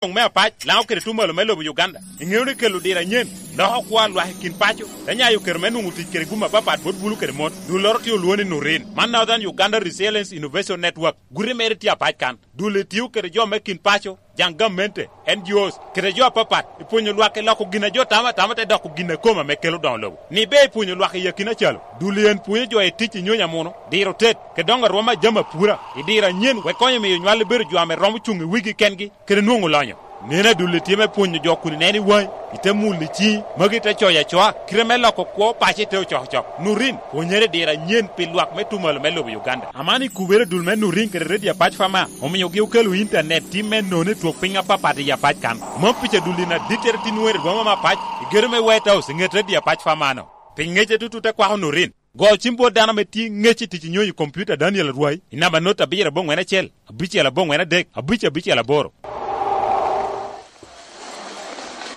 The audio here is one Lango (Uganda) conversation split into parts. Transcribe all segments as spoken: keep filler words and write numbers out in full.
Doŋ me apac, Laŋo kede Tumalo me lobo Uganda. Iŋeo ni kelo diro anyen loko kwo a lwak i kin paco, te nyayo kero me nwoŋo tic kede gum apapat bot bulu kede mon. Dulloro tye olwoŋo ni Nurin. Man Northern Uganda Resilience Innovation Network. Guti mere tye apac kan. Dul itio kede jo me kin paco, jaŋ gamente, N G Os, kede jo apapat, i pwonyo lwak i loko gin a jo tamo atama te doko gin a kome ame kelo doŋo lobo. Ni be i pwonyo lwak i akina calo, dul en pwonyo jo i tic i nyonyo amuno, diro tet, kede doŋo arwom a jami apura, i diro anyen, wek konyo miyo nywal bedo jo ame romo cuŋ i wigi kengi, kede nwoŋo lonyo. Neno adulli tye me pwonyo jo kun ineno i waŋi, ite mulo i ciŋi, magi te coyo acoa, kite me loko kwo paco ite ocokocok. Nurin, pwonyere i diro anyen pi lwak me Tumalo me lobo Uganda. Aman i kubere dul me Nurin kede Radio Apac Fama, omiogi okelo intanet tim me nono i twok piny apapat i Apac kan. Mom pica dul in adittere tin weri rwoma me apac, i gedo me White House, i ŋet Radio Apac Fama-no. Pi ŋecce tutu te kwako Nurin. Go cim bot dano ame tye ŋec i tic i nyonyo i kompiuta Daniel Arwai, i namba not abiro aboŋwen acel, abicel aboŋwen adek, abic abicel aboro.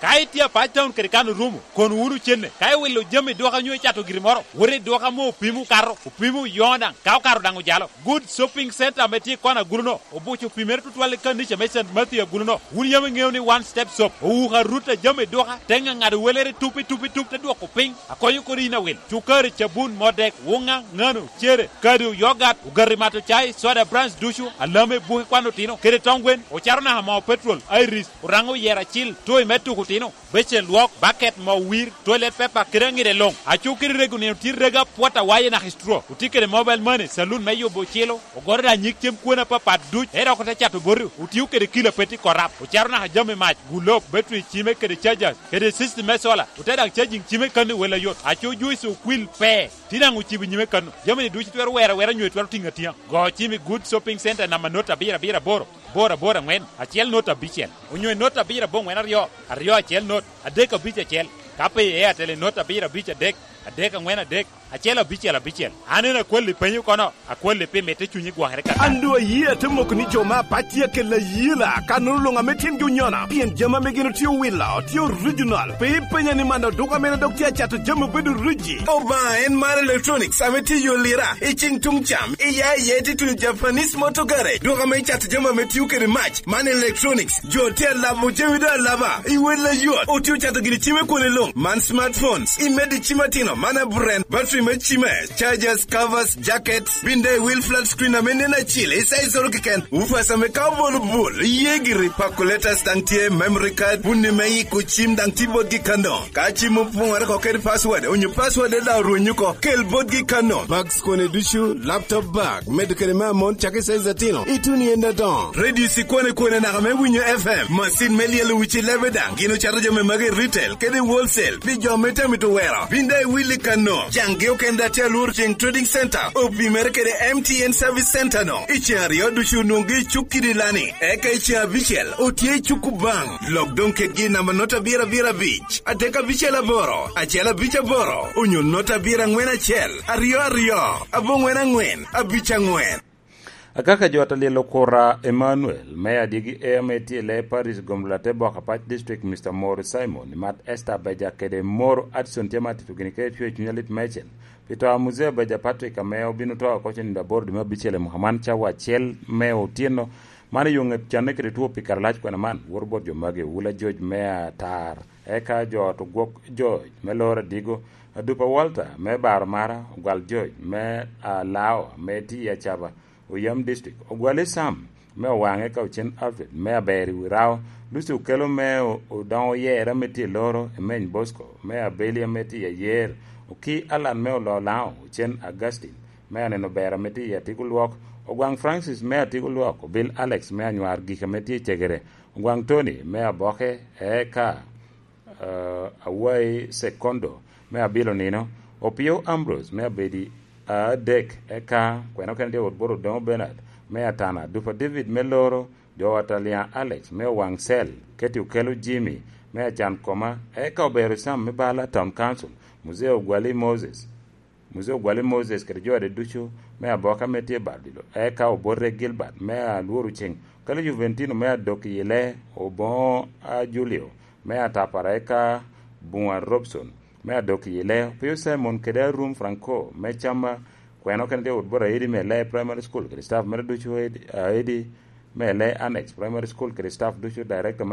Ka itye apac taun kede kan orumo, kon wunu cenne. Ka iwilo jami i duka nyo icato giri moro, wot i duka amo opimo okato, opimo oyoŋo daŋ, ka okato daŋ ojalo. Good Shopping Center ame tye i kona agulu-no, obuco opimere tutwal i kanica me Saint Matthew agulu-no. Wun yam iŋeo ni One Step Shop owuko arut a jami i duka, te ŋaŋado welere tup i tup i tup, te dwoko piny, akonyo kodi yin awil. Cukari, cabun, modek, wuŋa, ŋano, cere, kado, yogat, ogati mato cai, soda brands ducu, alame, buki kwan otino, kede tong gwen, ocato naka moo petrol, iris, oraŋo oyero acil, toy me tuko otino, becen lwok, baket, moo wir, toilet paper, kede aŋide luŋ. Aco kede rego nino tye rego apwot awaye naka i straw. Otye kede mobile money, saloon me yubo ocilo, ogoto daŋ nyig cem kwena apapat duc, ento dok ote cato boti, otio kede kilo a pe tye korap, ocato naka jami mac, gulok, battery cime kede chargers, kede system me solar, ote daŋ charging cime kano i wel ayot. Aco juice okwil pe, tye daŋ ocibo nyime kano. Jami-ni ducu itwero wero awera nyo itwero tiŋo atiŋa. Go cim i Good Shopping Center namba not abiro abiro aboro, boro aboro aŋwen, acel not abicel, onyo i not abiro aboŋwen aryo, aryo acel not, adek abic acel. Ka pe i Airtel i not abiro abic adek, adek aŋwen adek, acel abicel abicel. An en akwalli penyo kono, akwalli pi mitte cunyi gwokere kaka. An doŋ ayie ate moko ni jo me apac tye akelo ayela, ka nono luŋ ame tyengi onyono, pien jami ame gin otye owilo, tye original. Pe ipenya ni man oduka mene dok tye acato jami obedo riji. Obaŋa en mar electronics ame tye i yo lira, i ciŋ tuŋ cam, i ya i ye tye tuŋ Japanese motor garage. Duka ame cato jami ame tio kede mac, man electronics. Jo tye alabo jami doŋ alaba, i wel ayot. Otye ocato gini cime kwone luŋ, man smartphones, i medo i cim atino, man a brand, battery me cime, chargers, covers, jackets, bin daŋ i wil flat screen ame nen acil, i size oro keken. Woofers ame ka obolo bul, iye giri, calculators daŋ tye, memory card, bunni me yiko cim daŋ tye botgi kano. Ka cim opoŋore oko kede password, onyo password daŋ orwenyo oko, kel botgi kano. Bags kone ducu, laptop bag, medo kede me amon cakki size atino, ituno i en adoŋo. Radio cikwane kwane naka me winyo F M, macin me lyelo wic i lebe daŋ, gin ocato jami magi i retail kede i wholesale, pi jo me tamito wero. Bin daŋ iwil i kano, caŋgi okene daŋ tye alworo ceŋ Trading Center, opimere kede M T N Service Center no. I ceŋ aryo ducu onwoŋgi i cuk kidi lani, eka i ceŋ abicel otye i cuk Kubaŋ. Lok doŋ kedgi i namba not abiro abiro abic, adek abicel aboro, acel abic aboro, onyo not abiro aŋwen acel, aryo aryo, aboŋwen aŋwen, abic aŋwen. Akaka jo atalyel okura Emmanuel me Adyegi Air ame tye i lee Paris Gomla te bok apac district Mister Moro Simon, Mat Esther Beja kede Moro Addison tye ma atito gini kede cwer cuny alit meicel pi to a Muzee Beja Patrick ame obino to oko cen nino aboro dwe me abicel i mwaka man cawa acel me otyeno. Man i yo ŋet canne kede two pi kare lac kwena man, woro bot jo magi, Wula George me Atar, eka jo ot Ogwok George me Loro Adigo, Adupa Walter me Baro Mara, Ogwal George me Alao me Tiya Caba, Oyam District, Ogwali Sam me Owaŋe ka Ocen Alfred me Aber i Wirao, Lucy Okello me O-, Odoŋo Oyera me tye i Loro, Emeny Bosco me Abeli ame tye i Ayer, Oki Alan me Oloo Laŋo, Ocen Augustine me Aneno Ber ame tye i Atigo Lwok, Ogwaŋ Francis me Atigo Lwok, Obil Alex me Anywar Gik ame tye i Cegere, Ogwaŋ Tony me Aboke, eka eh, Awai Sekondo me Abilo Nino, Opio Ambrose me Abedi Adek, eka kwena okene tye Wot Boro Odoŋo Bernard me Atana, Dupa David me Loro, jo Watalian Alex me Owaŋ Cel, Keti Okelo Jimmy me Acan Koma, eka Obero Sam me Bala Town Council, Muzee Ogwali Moses, Muzee Ogwali Moses kede jo ade ducu me Aboka ame tye i bar odilo, eka Obote Gilbert me Alworo Ceng, kede Juventino me Adok i Ile, Oboŋo a Julio me Atapara, eka Buŋa Robson me Adok i Ile, Opio Simon kede Arum Franco me Cama, kwena okene tye Wot Boro Aidi me Ile Primary School kede staff mere ducu Aidi, Aidi Me le Annex Primary School kede staff ducu, director me